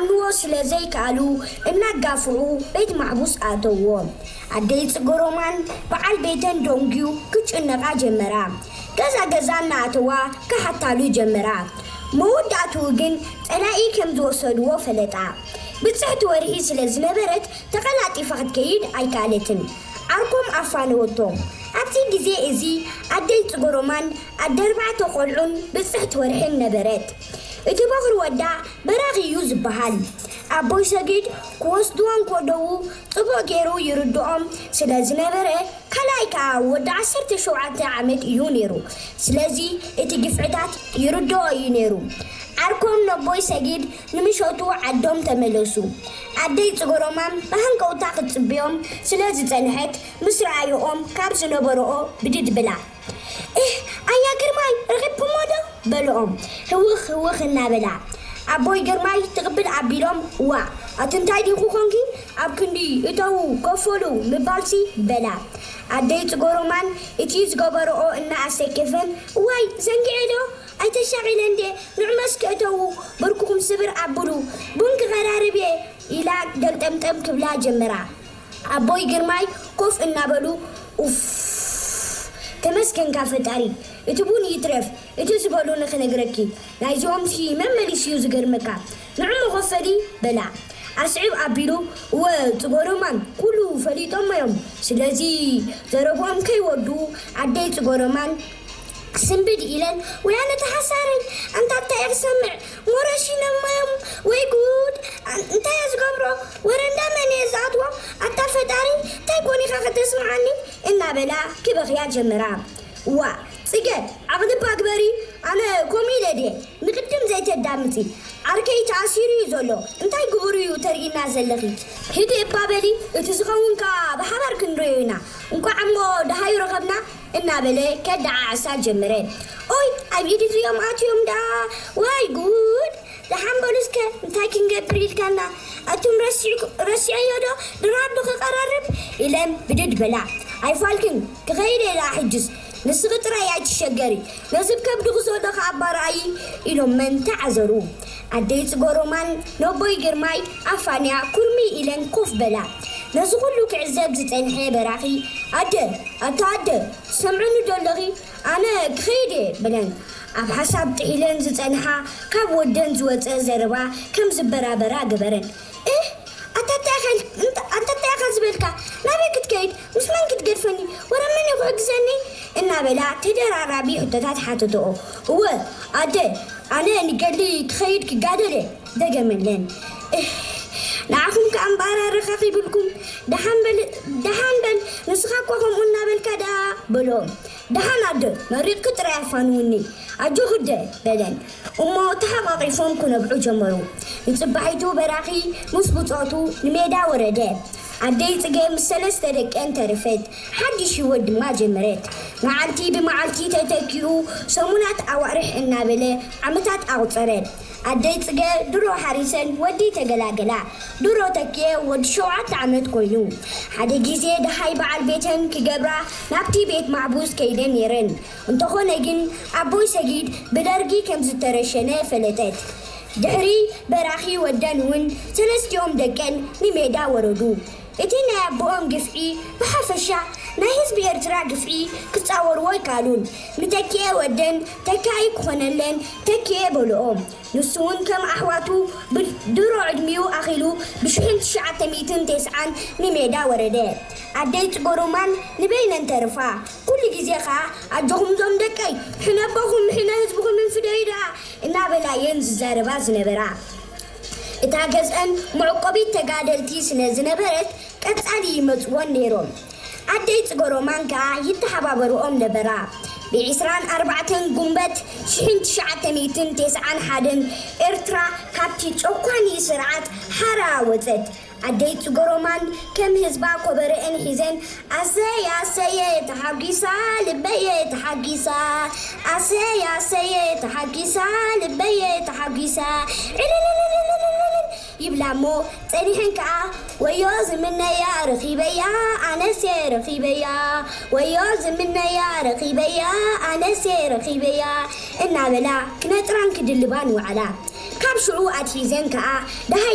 ክኣምንዎ ስለ ዘይከኣሉ እናጋፍዑ ቤት ማሕቡስ ኣእተውዎ። ኣደይ ጽገሮማን በዓል ቤተን ደንጉዩ ክጭነቓ ጀመራ። ገዛ ገዛ እናኣተዋ ክሓታሉ ጀመራ። መወዳእትኡ ግን ጸላኢ ከም ዝወሰድዎ ፈለጣ። ብጽሕቲ ወርሒ ስለ ዝነበረት ተቐላጢፋ ክትከይድ ኣይከኣለትን። ዓርኮም ኣፋነወቶ። ኣብዚ ግዜ እዚ ኣደይ ጽገሮማን ኣደ ኣርባዕተ ቆልዑን ብጽሕቲ ወርሕን ነበረት። እቲ በኹሪ ወዳ በራኺ እዩ ዝበሃል። ኣቦይ ሰጊድ ክወስድዎም ከለዉ ጽቡቕ ገይሩ ይርድኦም ስለ ዝነበረ፣ ካልኣይ ከኣ ወዲ ዓሰርተ ሸውዓተ ዓመት እዩ ነይሩ። ስለዚ እቲ ግፍዕታት ይርድኦ እዩ ነይሩ። ዓርኮም ነቦይ ሰጊድ ንምሸቱ ዓዶም ተመለሱ። ኣደይ ጽገሮማን ብሃንቀውታ ክትጽብዮም ስለ ዝጸንሐት፣ ምስ ረኣየኦም ካብ ዝነበረኦ ብድድ ብላ። እህ፣ ኣያ ግርማይ፣ ረኺብኩሞ ዶ? በልኦም ህውኽ ህውኽ እናበላ። ኣቦይ ግርማይ ትቕብል ኣቢሎም፣ ዋ፣ ኣቲ እንታይ ዲኹ ኾንኪ? ኣብ ክንዲ እተዉ ከፈሉ ምባልሲ በላ። ኣደይ ጽገሮማን እቲ ዝገበርኦ እናኣሰከፈን፣ ዋይ፣ ዘንጊዐ ዶ? ኣይተሻቒለ እንዴ? ንዑ መስክ እተዉ፣ ብርኩኹም ስብር ኣብሉ፣ ቡን ክቐራርብ እየ ኢላ ገልጠምጠም ክብላ ጀመራ። ኣቦይ ግርማይ ኮፍ እናበሉ፣ ኡፍ፣ ተመስገንካ ፈጣሪ፣ እቲ ቡን ይትረፍ፣ እቲ ዝበሉኒ ክነግረኪ፣ ናይዚኦምሲ መመሊስ እዩ ዝገርመካ። ንዑ መኸፈሊ በላ። ኣስዕብ ኣቢሉ፣ እወ፣ ጽገሮማን ኩሉ ፈሊጦሞ እዮም። ስለዚ ዘረብኦም ከይወዱ ኣደይ ጽገሮማን ስንብድ ኢለን፣ ወይ ኣነ ተሓሳረኝ፣ ኣንታ እንታይ እየ ክሰምዕ? ሞረሺኖሞ እዮም ወይ ጉድ! ኣን-፣ እንታይ እየ ዝገብሮ? ወረ እንዳ መን እየ ዝኣትዎ? ኣታ ፈጣሪ፣ እንታይ ኮን ኢኻ ከተስምዓኒ? እናበላ ክበኽያ ጀመራ። ዋ፣ ጽገ፣ ዓቕሊ እባ ግበሪ፣ ኣነ ከምኡ ኢለ ድየ? ንቕድም ዘይተዳምጺ፣ ዓርከይ ተኣሲሩ እዩ ዘሎ፣ እንታይ ግብሩ እዩ ተርእይና ዘለኺ? ሂዲ እባ በሊ፣ እቲ ዝኸውን ከኣ ብሓባር ክንርእዮ ኢና፣ እንቋዕ እሞ ደሃዩ ረኸብና እናበለ ከደዓዕሳ ጀመረ። ኦይ፣ ኣብ ኢድ እዚኦም ኣትዮም ደኣ፣ ዋይ ጉድ! ደሓን በሉ እስከ፣ እንታይ ክንገብር ኢልካና? ኣቱም ረሲዕኩ-፣ ረሲዐዮ ዶ ድራር ዶ ክቐራርብ? ኢለን ብድድ በላ። ኣይፋልክን፣ ክኸይድ እየ ደኣ ሕጅስ። ንስኺ ጥራይ ኣይትሸገሪ፣ ነዚ ብከብድኺ ዘሎ ከኣ ኣባርኣዪ ኢሎም መን ተዓዘሩ። ኣደይ ጽገሮማን ነቦይ ግርማይ ኣፋንያ ኩርሚ ኢለን ኮፍ በላ። ነዚ ኩሉ ክዕዘብ ዝጸንሐ በራኺ፣ ኣደ፣ ኣታ ኣደ፣ ትሰምዕኒ ዶ ኣለኺ? ኣነ ክኸይድ እየ በለን። ኣብ ሓሳብ ጥሒለን ዝጸንሓ ካብ ወደን ዝወጸ ዘረባ ከም ዝበራበራ ገበረን። እህ፣ ኣታ እንታይ ኢኻ፣ እንተ-፣ ኣንታ እንታይ ኢኻ ዝበልካ? ናበይ ክትከይድ? ምስ መን ክትገድፈኒ? ወረ መን እዩ ክሕግዘኒ? እናበላ ተደራራቢ ሕቶታት ሓተተኦ። እወ፣ ኣደ፣ ኣነ ንገድሊ ክኸይድ ክጋደል እየ፣ ደገመለን። እህ፣ ንዓኹም ከኣ እምበኣር ኣረኻኺብልኩም። ደሓን በል፣ ደሓን በል፣ ንስኻ እኳ ከምኡ እናበልካ ደኣ በሎም። ደሓን ኣደ፣ መሪቕኪ ጥራይ ኣፋንውኒ። ኣጆኺ ኣደ፣ በለን። እሞ ተሓቋቒፎም ክነብዑ ጀመሩ። ንጽባሒቱ በራኺ ምስ ብጾቱ ንሜዳ ወረደ። ኣደይ ጽገ ምስ ሰለስተ ደቀን ተረፈት። ሓድሽ ህይወት ድማ ጀመረት። መዓልቲ ብመዓልቲ ተተኪኡ፣ ሰሙናት ኣዋርሕ እናበለ ዓመታት ኣቑጸረ። ኣደይ ጽገ ድሮ ሓሪሰን ወዲ ተገላገላ። ድሮ ተኪኤ ወዲ ሸውዓተ ዓመት ኮይኑ። ሓደ ግዜ ደሃይ በዓል ቤተን ክገብራ ናብቲ ቤት ማሕቡስ ከይደን ነይረን። እንተኾነ ግን ኣቦይ ሰጊድ ብደርጊ ከም ዝተረሸነ ፈለጠት። ድሕሪ በራኺ ወደን እውን ሰለስቲኦም ደቀን ንሜዳ ወረዱ። እቲ ናይ ኣቦኦም ግፍዒ ብሓፈሻ ናይ ህዝቢ ኤርትራ ግፍዒ ክጻወርዎ ኣይከኣሉን። ንተኪኤ ወደን ተካኢ ክኾነለን ተኪኤ በልኦ። ንሱ እውን ከም ኣሕዋቱ ብድሮ ዕድሚኡ ኣኺሉ ብሽሕን ትሽዓተ ሚእትን ተስዓን ንሜዳ ወረደ። ኣደይ ጽገሮማን ንበይነን ተርፋ። ኩሉ ግዜ ኸኣ ኣጆኹም እዞም ደቀይ፣ ሕነ ኣቦኹም፣ ሕነ ህዝብኹም እንፍደዩ ደኣ እናበላ እየን ዝዛረባ ዝነበራ። እታ ገዝአን መዕቆቢት ተጋደልቲ ስለ ዝነበረት ቀጻሊ ይመጽወን ነይሮም። ኣደይ ጽገሮማን ከኣ ይተሓባበርኦም ነበራ። ብ ዕስራን ኣርባዕተን ጉንበት ሽሕን ትሽዓተ ሚእትን ተስዓን ሓደን ኤርትራ ካብቲ ጨኳኒ ስርዓት ሓራ ወጸት። ኣደይ ጽገሮማን ከም ህዝባ ኮበረአን ሒዘን ኣሰይ ኣሰየ ተሓጒሳ ልበየ ተሓጒሳ፣ ኣሰይ ኣሰየ ተሓጒሳ ልበየ ተሓጒሳ፣ ዕልልልልልልልልል ይብላ እሞ ጸኒሐን ከኣ ወዮ ዝምነያ ረኺበያ ኣነሴ ረኺበያ፣ ወዮ ዝምነያ ረኺበያ ኣነሴ ረኺበያ እናበላ ክነጥራን ክድልባን ወዓላ። ካብ ሽዑ ኣትሒዘን ከኣ ደሃይ